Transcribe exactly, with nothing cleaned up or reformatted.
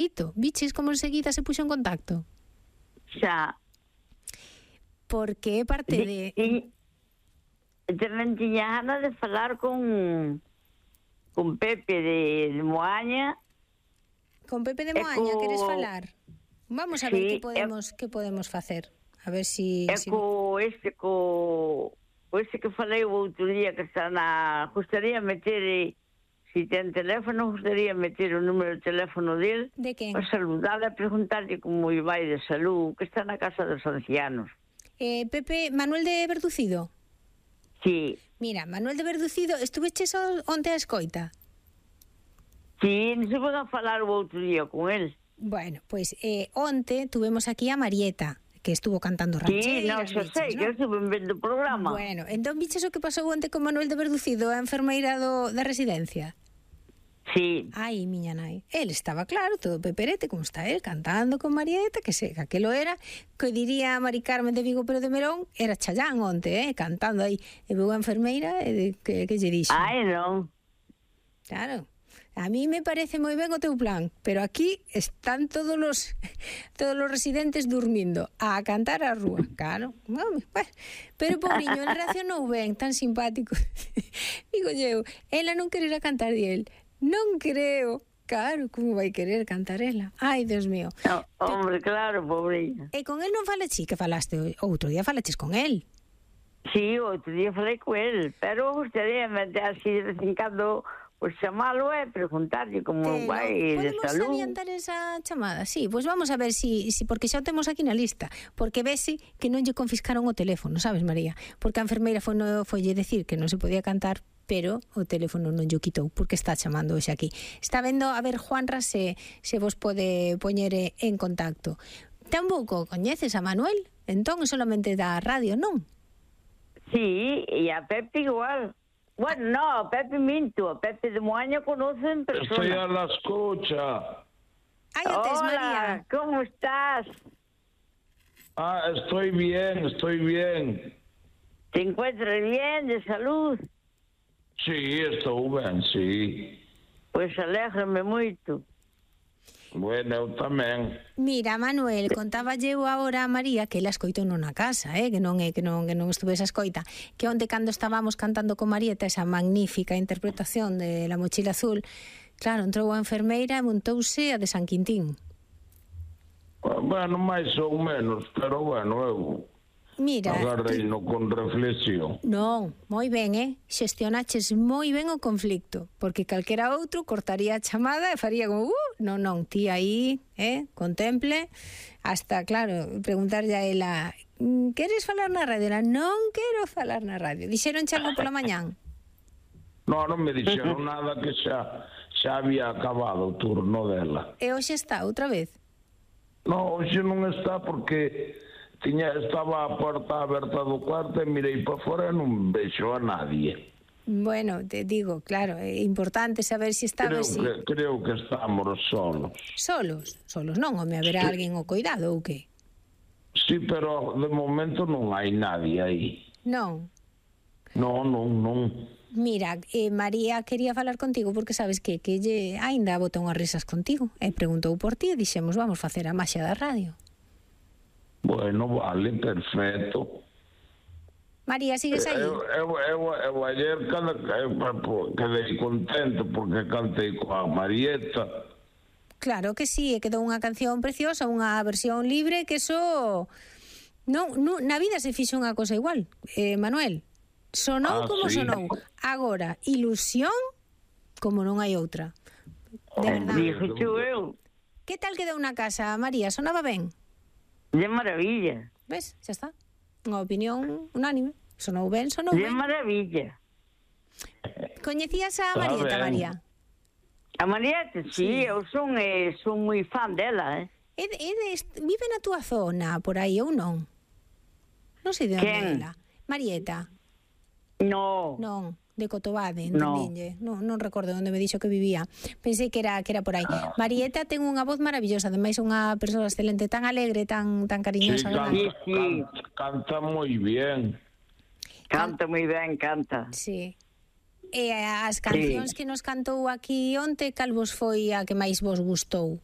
Ito, biches como enseguida se puxo en contacto? Xa. Porque é parte de... E tamén tiña ganas de falar con con Pepe de, de Moaña. Con Pepe de Moaña, co... queres falar? Vamos a ver sí, que podemos e... que podemos facer. A ver si... É si... co este, co... co este que falei o outro día que está na... Gustaría meter... Si ten teléfono, gustaría meter o número de teléfono del. De quen? Para saludarle, a preguntarle como vai de salud, que está na casa dos ancianos. Eh, Pepe, Manuel de Verducido? Sí. Mira, Manuel de Verducido, estuveches onte a escoita? Sí, non se pode falar o outro día con él. Bueno, pois pues, eh, onte tuvemos aquí a Marieta, que estuvo cantando rancheras. Sí, non, xa sei, ¿no? Que estuve vendo o programa. Bueno, entón biches o que pasou onte con Manuel de Verducido, a enfermeira do, da residencia? Sí. Ai, miña nai. El estaba claro, todo peperete, como está él, cantando con Marieta, que se, que aquelo era, que diría Mari Carmen de Vigo pero de Melón, era Chayán onte, eh, cantando aí. E veu a enfermeira, e que, que lle dixo? Ai, non. Claro. A mí me parece moi ben o teu plan, pero aquí están todos los todos los residentes durmindo, a cantar a rúa. Claro, bueno, pero pobriño, el reaccionou ben, tan simpático. Digo eu, ela non quererá cantar de él. Non creo. Claro, como vai querer cantar ela? Ai, Dios mío. No, hombre, claro, pobreña. E con él non falachi, que falaste outro día, falaches con él. Sí, outro día falei con él, pero gustaría así de vez en cando pues chamalo e preguntarlle como Pero, vai de salud. Podemos adiantar esa chamada? Sí, pois pues vamos a ver si, si porque xa o temos aquí na lista, porque vese que non lle confiscaron o teléfono, sabes, María? Porque a enfermeira foi, no, foi lle decir que non se podía cantar, pero o teléfono non lle quitou, porque está chamando hoxe aquí. Está vendo, a ver, Juanra, se, se vos pode poñer en contacto. Tampouco coñeces a Manuel? Entón, solamente da radio, non? Sí, e a Pepe igual. Bueno, no, a Pepe minto, a Pepe de Moaña conoce en persona. Estoy a la escucha. Ay, antes, Hola, María. ¿cómo estás? Ah, estoy bien, estoy bien. ¿Te encuentras bien, de salud? Sí, estou ben, sí. Pois alégrame moito. Bueno, eu tamén. Mira, Manuel, contaba eu agora a María que ela escoitou non na casa, eh, que non é que non que non estuve esa escoita, que onde cando estábamos cantando con Marieta esa magnífica interpretación de La mochila azul, claro, entrou a enfermeira e montouse a de San Quintín. Bueno, máis ou menos, pero bueno, eu Mira, agarrei no con reflexión. Non, moi ben, eh? Xestionaches moi ben o conflicto, porque calquera outro cortaría a chamada e faría como, uh, non, non, ti aí, eh, contemple, hasta, claro, preguntarlle a ela, queres falar na radio? Ela, non quero falar na radio. Dixeron algo pola mañán? Non, non me dixeron nada, que xa, xa había acabado o turno dela. E hoxe está, outra vez? Non, hoxe non está porque... Tiña, estaba a porta aberta do cuarto e mirei para fora e non vexo a nadie. Bueno, te digo, claro, é importante saber se si está creo, si... que, creo que estamos solos. Solos? Solos non, home, haberá sí. alguén o cuidado ou que? Sí, pero de momento non hai nadie aí. Non? Non, non, non. Mira, eh, María quería falar contigo porque sabes que que lle aínda bota unhas risas contigo e preguntou por ti e dixemos, vamos facer a maxia da radio. Bueno, vale, perfecto. María, sigues aí? Eu, eu, eu, eu ayer cada, eu, quedei contento porque cantei coa Marieta. Claro que sí, e quedou unha canción preciosa, unha versión libre, que eso... Non, non, na vida se fixo unha cosa igual, eh, Manuel. Sonou ah, como sí. sonou. Agora, ilusión como non hai outra. De verdade. Que tal quedou na casa, María? Sonaba ben? De maravilla. Ves? Xa está. Unha opinión unánime. Sonou ben, sonou ben. De maravilla. Coñecías a Marieta, María? A Marieta, sí, sí. eu son, eh, son moi fan dela, eh. E, e de, vive na túa zona, por aí, ou non? Non sei de onde é ela. Marieta? No. Non. De Cotobade, entendinlle. No. Non, non recordo onde me dixo que vivía. Pensei que era que era por aí. Marieta ten unha voz maravillosa, ademais unha persoa excelente, tan alegre, tan tan cariñosa. Sí, canta, sí, sí. Canta, canta moi bien. Canta moi ben, canta. Sí. E as cancións sí. que nos cantou aquí onte, cal vos foi a que máis vos gustou?